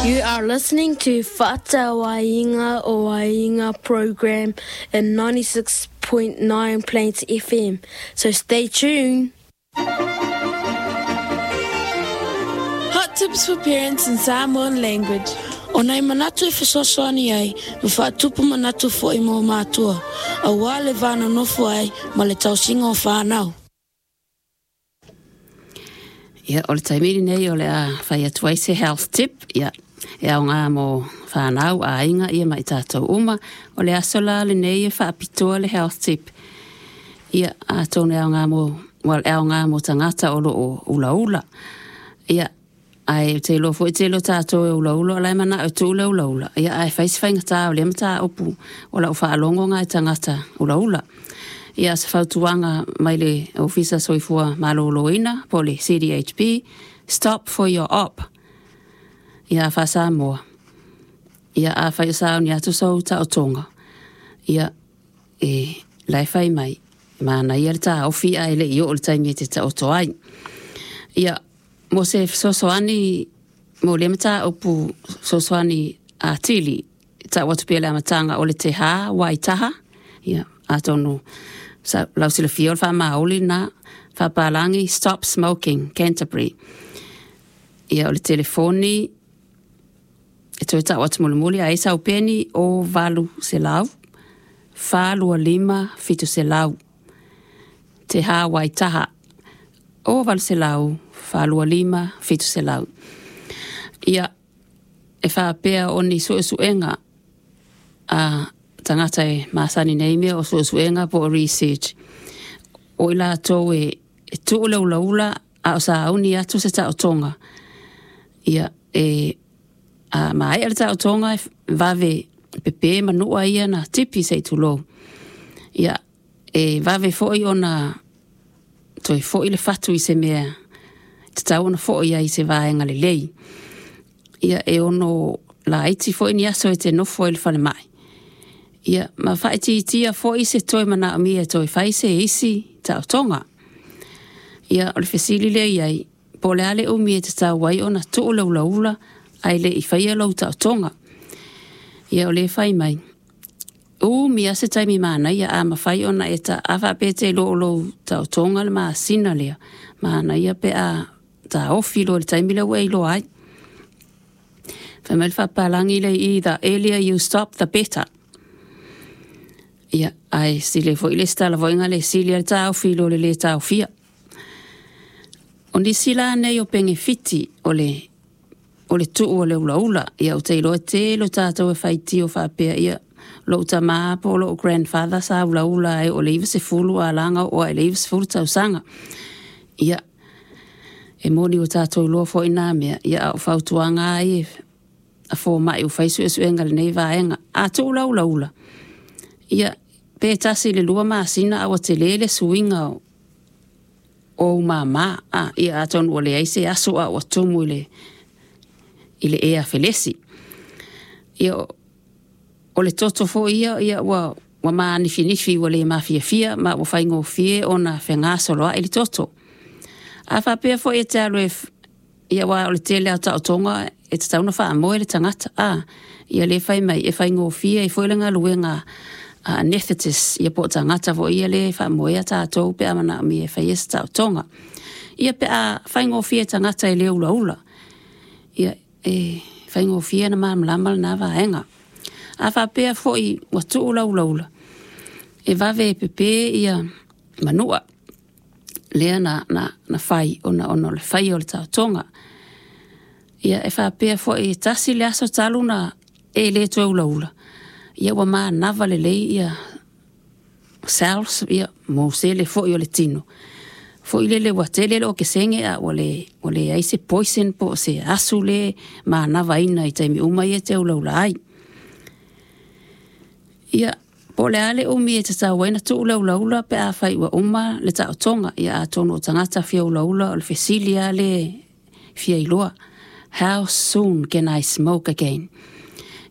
You are listening to Fa'atauaiga o Aiga program in 96.9 Plains FM, so stay tuned. Hot tips for parents in Samoan language. O nai manatu e fesoasoani ai ma faatupu manatu foi mo matua, auā le va nonofo ai ma le tausiga o fanau. Ia, o le taimi lenei o le a fai atu ai se health tip, ia, e aoga mo fanau, aiga, ia ma i tatou uma. O le aso la lenei e faapitoa le health tip. Ia, atonu e aoga mo, well, e aoga mo tagata o lo o ulaula. Ia, ae ou te iloa foi tele o tatou e ulaula o la e manao e tuu le ulaula. Ia, ae fai si faigata o lea mataupu o lau faalogo na i tagata ulaula. Ia, o se fautuaga mai le Ofisa Soifua Maloloina po o le CDHP, stop for your op. Ia, faa-Samoa. Ia, afai o sauni atu sou taotoga, ia, e la e fai mai, e manaia le taofi ae le i oo i le taimi e te taoto ai. Ia, mo se fesoasoani mo lea mataupu fesoasoani atili, e tau atu pea le amataga o le Te Waitaha, ia, atonu lau silafia o le faamaoli lena, faapalagi Stop Smoking Canterbury. Ia, o le telefoni e toe tau atu mulimuli a i sau peni o 800 425 700. Te Waitaha o 800 425 700. Ia, e faapea o ni suesuega a tagata e masani nei mea o suesuega po o research. O i latou e tuu le ulaula a o sauni atu se taotoga. Ia, e a maea le taotoga e vave pepe manua ia na tipi se i tulou. Ia, e vave foi ona toe foi le fatu i se mea tatau ona foi ai i se vaega lelei. Ia, e ono laiti foi ni aso e te nofo ai i le falemai. Ia, ma faaitiitia foi se toe manaomia e toe fai se isi taotoga. Ia, o le fesili lea i ai, po o le a le umi e tatau ai ona tuu le ulaula ae le i faia lou taotoga. Ia, o lea e fai mai, umi lava se taimi manaia a mafai ona e ta, a faapea e te iloa o lou taotoga le masina lea, manaia pe a taofi loa i le taimi lea ua e iloa ai. Fai mai le faapapalagi lea i i, the earlier you stop the better. Ia, ae sili ai foi le isi tala foi na le sili lava le taofi i lo le lē taofia. O nisi la nei o penefiti o le o le tuu o le ulaula, ia ou te iloa e tele o tatou e faitio faapea, ia, lou tamā po o lou grandfather sa ulaula ai o le 90 a la na oo ae i le 90 tausaga. Ia, e moni ua tatou iloa foi na mea, ia a o fautuaga lava ia a fomai ua fai suesuega i lenei vaega. A tuu la ulaula, ia, pe tasi i le lua masina a ua tele le suiga o ou mama, a, ia, atonu ua leai se aso a ua tumu i le i le ea felesi. Ia, o le toto foi ia, ia ua ua manifinifi ua le mafiafia ma ua faigofie ona fegasoloai le toto. A faapea foi e te alu e ia aua o le tele lava o taotoga e tatau ona faamoe le tagata, a, ia lea e fai mai e faigofie ai foi le galuega a anaesthetist ia po o tagata foi ia lea e faamoea tatou pe a manaomia e faia se taotoga. Ia pe a faigofie i tagata e le ulaula, ia e faigofie ona malamalama lena vaega. A faapea foi ua tuu lau ulaula, e vave e pepe ia manua lea na, na, na fai ona, ona o le faia o le taotoga. Ia, e faapea foi e tasi le aso talu ona e le toe ulaula, ia ua manava lelei ia cells, ia, mo sele foi o le tino. Foi lele ua tele le okesene a ua le, ua leai se poison po o se asu le manavaina i taimi uma ia e te ulaula ai. Ia, po o le a le umi e tatau ai ona tuu le ulaula pe afai ua uma le taotoga. Ia, atonu o tagata fia ulaula o le fesili lava lea e fia iloa, how soon can I smoke again?